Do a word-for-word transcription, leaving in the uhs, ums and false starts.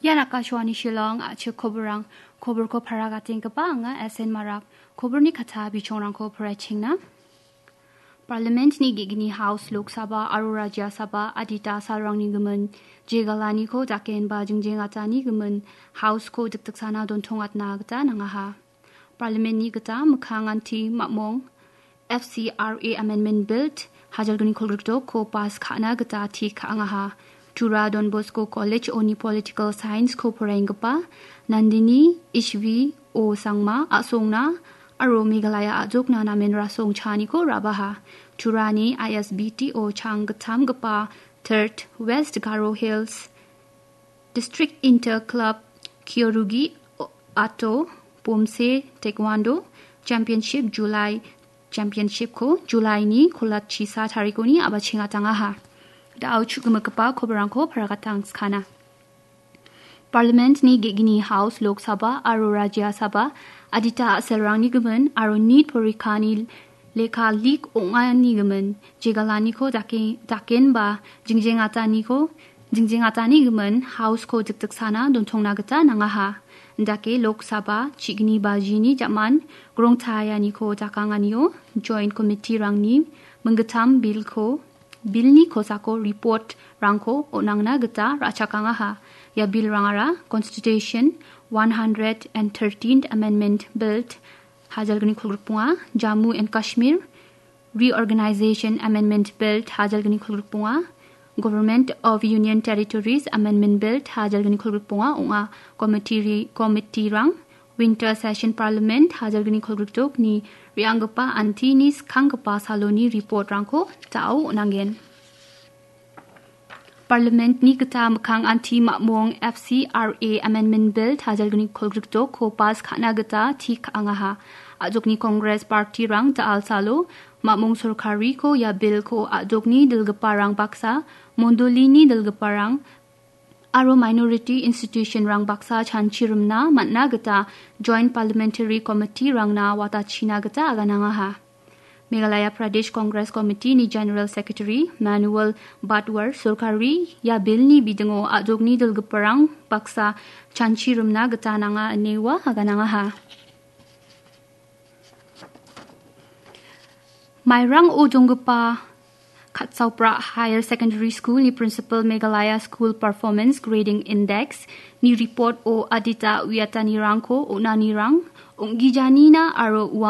Ian Akashvani Shillong, a·chik koborrang, koborko paragatenggipa anga S N Marak, koborni kata bichongrangko poraichengna. Parliamentni ge·gni House, Lok Sabha aro Rajya Sabha adita salrangni gimin jegalaniko dakenba jingjengatani gimin Houseko dikdiksana dontongatna gita nangaha. Parliamentni gita mikkanganti mamong F C R A Amendment Bill hajalgni kolgrikdokko pass ka·na gita tik ka·angaha. Tura Don Bosco College-oni Political Science-ko poraienggipa Nandini Ishvi O Sangma a·songna aro Meghalaya a·jokna namen rasong chaaniko rabaha. Turani I S B T O chang gittamgipa Third West Garo Hills District Inter Club Kyorugi Ato Pomse Taekwondo Championship July Championship-ko July-ni kolatchisa tarikoni a·bachengatangaha. Da·o chu·gimigipa koborrangko paragatangskana. Parliament-ni ge·gni House, Lok Sabha aro Rajya Sabha adita a·selrangni gimin aro nit porikani lekha lik ong·ani gimin jegalaniko dake-, dakenba jingjengataniko, jingjengatani gimin Houseko dikdiksana dontongna gita nangaha. Indake Lok Sabha chi·gni bajini jaman grongtayaniko dakanganio Joint Committee-rangni minggittam bilko, bilni kosako report-rangko on·angna gita ra·chakangaha. Ia bilrangara Constitution one hundred and thirteenth Amendment Bill hajalgni kolgrikbonga, Jammu and Kashmir Reorganization Amendment Bill hajalgni kolgrikbonga, Government of Union Territories Amendment Bill hajalgni kolgrikbonga ong·a. Committee-ri-, committee-rang Winter Session Parliament hajalgni kolgrikdokni re·anggipa antini skanggipa saloni report-rangko da·o on·angen. Parliament-ni gita mikkang anti mamong F C R A Amendment Bill hajalgni kolgrikdokko pass ka·na gita tik ka·angaha. A·jokni Congress Party-rang da·alsalo mamong sorkariko ia bill-ko a·jokni dilgiparang baksa, mondolini dilgiparang aro minority institution-rang baksa chanchirimna man·na gita Joint Parliamentary Committee-rangna watachina gita aganangaha. Meghalaya Pradesh Congress Committee-ni General Secretary Manuel Badwar sorkari ia bill-ni bidingo a·jokni dilgiparang baksa chanchirimna gita nanga ine ua aganangaha. Mairang o donggipa Katsaupra Higher Secondary School-ni Principal Meghalaya School Performance Grading Index-ni report-o adita uiatanirangko on·anirang, ong·gijanina aro ua